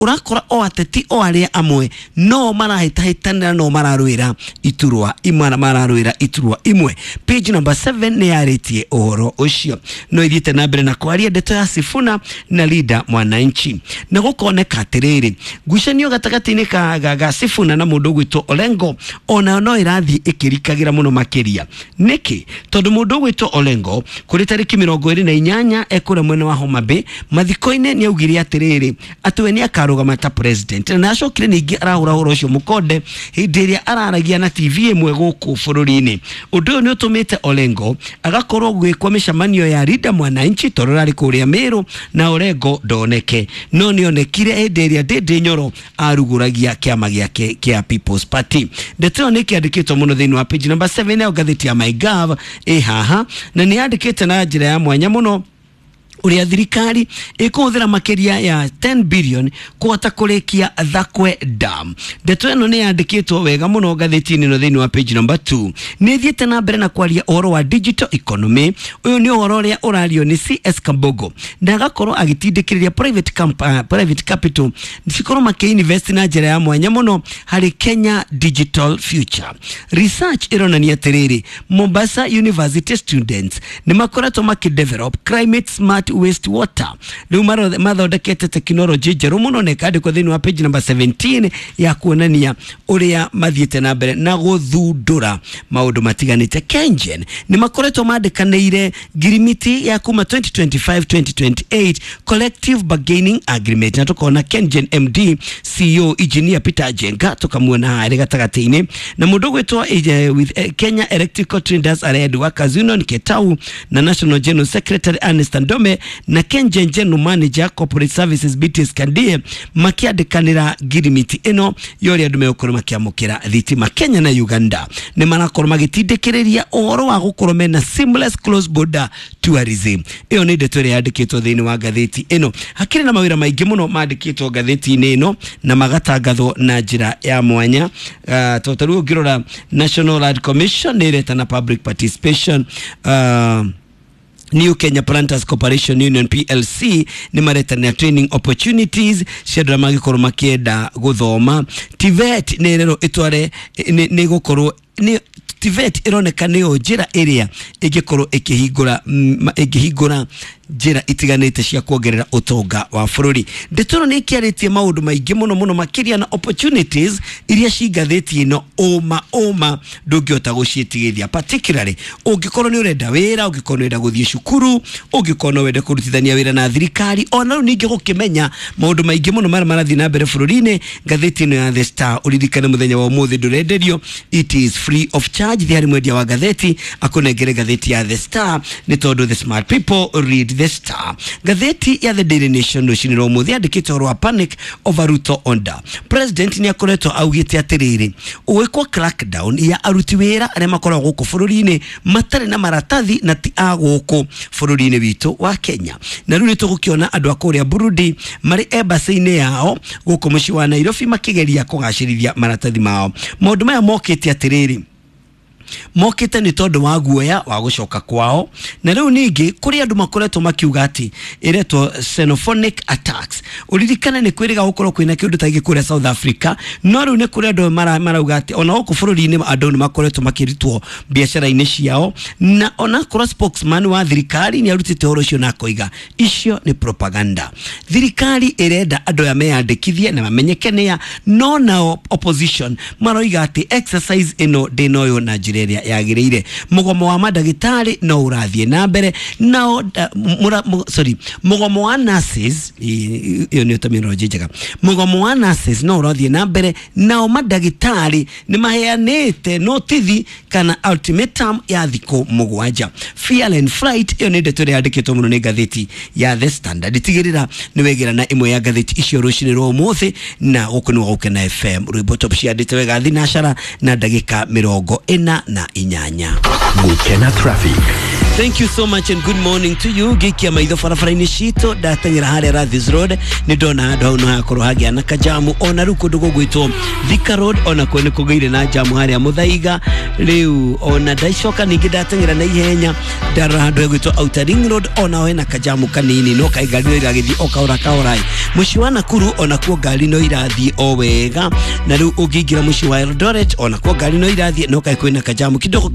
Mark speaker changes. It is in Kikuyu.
Speaker 1: Ũrakora o ateti o arĩa amwe no marahĩtahĩtanĩra, no mararũĩra iturwa imwe, mararũĩra iturwa imwe. Page number 7 nĩ yarĩtie ũhoro ũcio. No ithiĩte na mbere na kwaria ndeto ya Sifuna na Linda Mwananchi, na gũkoneka atĩrĩrĩ, ngucanio gatagatĩ-inĩ ka ga Sifuna na mũndũ ũgwĩtwo Orengo onayo no ĩrathiĩ ĩkĩrikagĩra mũno makĩria. Nĩkĩ? Tondũ mũndũ ũgwĩtwo Orengo kũrĩ tarĩki 28 ekũrĩa mwena wa Homa Bay mathiko-inĩ nĩ augire atĩrĩrĩ, atĩ we nĩ akarũgama ta president, na acokire ningĩ arahũra ũhoro ũcio mũkonde hĩndĩ ĩrĩa araragia na TV ĩmwe gũkũ bũrũri-inĩ. Ũndũ ũyũ nĩ ũtũmĩte Orengo agakorwo gwĩkwo mĩcemanio ya Linda Mwananchi tondũ rarĩ kũrĩa Meru na Orengo ndoneke, no nĩ onekire hĩndĩ ĩrĩa Ndindi Nyoro arugũragia kĩama gĩake kĩa People's Party. Ndeto ĩyo nĩ ĩkĩandĩkĩtwo mũno thĩinĩ wa page number 7 ya ngathĩti ya MyGov ĩ haha, na nĩ yandĩkĩte na njĩra ya mwanya mũno ũrĩa thirikari ĩkũhũthĩra makĩria ya 10 billion kũhota kũrĩkia Thakwe Dam. Ndeto ĩno nĩ yandĩkĩtwo wega mũno ngathĩti-inĩ ĩno thĩinĩ wa page number 2. Nĩ ĩthiĩte na mbere na kwaria ũhoro wa digital economy. Ũyũ nĩ ũhoro ũrĩa ũrario nĩ CS Kambogo, na agakorwo agĩtindĩkĩrĩria private capital cikorwo makĩinvest na njĩra ya mwanya mũno harĩ Kenya digital future. Research ĩronania atĩrĩrĩ, Mombasa University students nĩ makoretwo makĩdevelop climate smart waste water. Rĩu mathondekete tekinoronjĩ njerũ mũno na ĩkandĩkwo thĩinĩ wa page number 17 ya kuonania ũrĩa mathiĩte na mbere na gũthundũra maũndũ matiganĩte. Kengen nĩ makoretwo mandĩkanĩire ngirimiti ya kuma 2025-2028 collective bargaining agreement, na tũkona Kengen MD CEO Engineer Peter Jenga tũkamuona haha arĩ gatagatĩ-inĩ na mũndũ ũgwĩtwo with Kenya Electrical Traders Allied Workers Union Ketau na National General Secretary Ernest Ndome na Kengen General Manager Corporate Services BTS Kandie makiandĩkanĩra ngirimiti ĩno ya ũrĩa andũ megũkorwo makĩamũkĩra thitima. Kenya na Uganda nĩ marakorwo magĩtindĩkĩrĩria ũhoro wa gũkorwo mena seamless close border tourism. Ĩyo nĩ ndeto ĩrĩa yandĩkĩtwo thĩinĩ wa ngathĩti ĩno. Hakĩrĩ na mawĩra maingĩ mũno mandĩkĩtwo ngathĩti-inĩ ĩno na magatangathwo na njĩra ya mwanya. Tondũ ta rĩu ũngĩrora National Land Commission nĩ ĩretana public participation. New Kenya Planters Corporation Union PLC nĩ maretania training opportunities cia andũ arĩa mangĩkorwo makĩenda gũthoma. TVET nĩ ĩrerwo ĩtware nĩ gũkorwo nĩ TVET ĩroneka nĩyo njĩra ĩrĩa ĩngĩkorwo ĩkĩhingũra ĩngĩhingũra njĩra itiganĩte cia kuongerera ũtonga wa bũrũri. Ndeto ĩno nĩ ĩkĩarĩtie maũndũ maingĩ mũno mũno makĩria na opportunities iria ci ngathĩti ĩno, ũma ũma ndũngĩhota gũciĩtigithia, particularly ũngĩkorwo nĩ ũrenda wĩra, ũngĩkorwo nĩ ũrenda gũthiĩ cukuru, ũngĩkorwo no wende kũrutithania wĩra na thirikari, ona rĩu ningĩ gũkĩmenya maũndũ maingĩ mũno marĩa marathiĩ na mbere bũrũri-inĩ. Ngathĩti ĩno ya The Star, ũririkane mũthenya wa ũmũthĩ ndũrenderio, it is free of charge. Thiĩ harĩ mwendia wa ngathĩti akũnengere ngathĩti ya The Star, nĩ tondũ the smart people read The Star. Ngathĩti ya The Daily Nation rũcinĩ rwa ũmũthĩ yandĩkĩte ũhoro wa panic over Ruto order. President nĩ akoretwo augĩte atĩrĩrĩ, gwĩkwo crackdown ya aruti wĩra arĩa makoragwo gũkũ bũrũri-inĩ matarĩ na maratathi na ti a gũkũ bũrũri-inĩ witũ wa Kenya. Na rĩu nĩ tũgũkĩona andũ a kũrĩa Burundi marĩ embassy-inĩ yao gũkũ mũciĩ wa Nairobi makĩgeria kũgacĩrithia maratathi mao. Maũndũ maya mokĩte atĩrĩrĩ, mokĩte nĩ tondũ wa guoya wa gũcoka kwao, na rĩu ningĩ kũrĩ andũ makoretwo makiuga atĩ ĩretwo xenophonic attacks. Ũririkane nĩ kwĩrĩga gũkorwo kwĩna kĩũndũ ta gĩkĩ kũrĩa South Africa, no rĩu nĩ kũrĩ andũ marauga atĩ ona gũkũ bũrũri-inĩ andũ nĩ makoretwo makĩrutwo biacara-inĩ ciao, na onakorwo spokesman wa thirikari nĩ arutĩte ũhoro ũcio na akoiga icio nĩ propaganda. Thirikari ĩrenda andũ aya meyandĩkithie na mamenyeke nĩa, no nao opposition maroiga atĩ exercise ĩno ndĩnoywo na njĩra ĩrĩa yagĩrĩire. Mũgomo wa mandagĩtarĩ no ũrathiĩ na mbere nao sorry, mũgomo wa nurses, ĩyo nĩyo terminology njega, mũgomo wa nurses no ũrathiĩ na mbere, nao mandagĩtarĩ nĩ maheanĩte notithi kana ultimatum ya thikũ 7. Fear and flight, ĩyo nĩ ndeto ĩrĩa yandĩkĩtwo mũno nĩ ngathĩti ya The Standard. Tigĩrĩra nĩ wegĩra na ĩmwe ya ngathĩti icio rũcinĩ rwa ũmũthĩ, na gũkũ nĩ Gũkena FM. Rwĩmbo top ciandĩte wega thinacara na ndagĩka 48.
Speaker 2: Gukena Traffic.
Speaker 1: Thank you so much and good morning to you. Ngikia maitho barabara-inĩ citũ, ndateng'era harĩa Rathis Road, nĩ ndona handũ hau no hakorwo hagĩa na kajamu. Ona rĩu kũndũ gũgwĩtwo Thika Road onakuo nĩ kũgĩire na jamu harĩa Mũthaiga. Rĩu ona ndaicoka ningĩ ndateng'era na ihenya, ndarora handũ hegwĩtwo Outer Ring Road, onaho hena kajamu kanini, no kaĩ ngari no iragĩthiĩ o kahora kahora. Mũciĩ wa Nakuru onakuo ngari no irathiĩ o wega, na rĩu ũngĩingĩra mũciĩ wa Eldoret onakuo ngari no irathiĩ, no kaĩ kwĩna kajamu kidogo.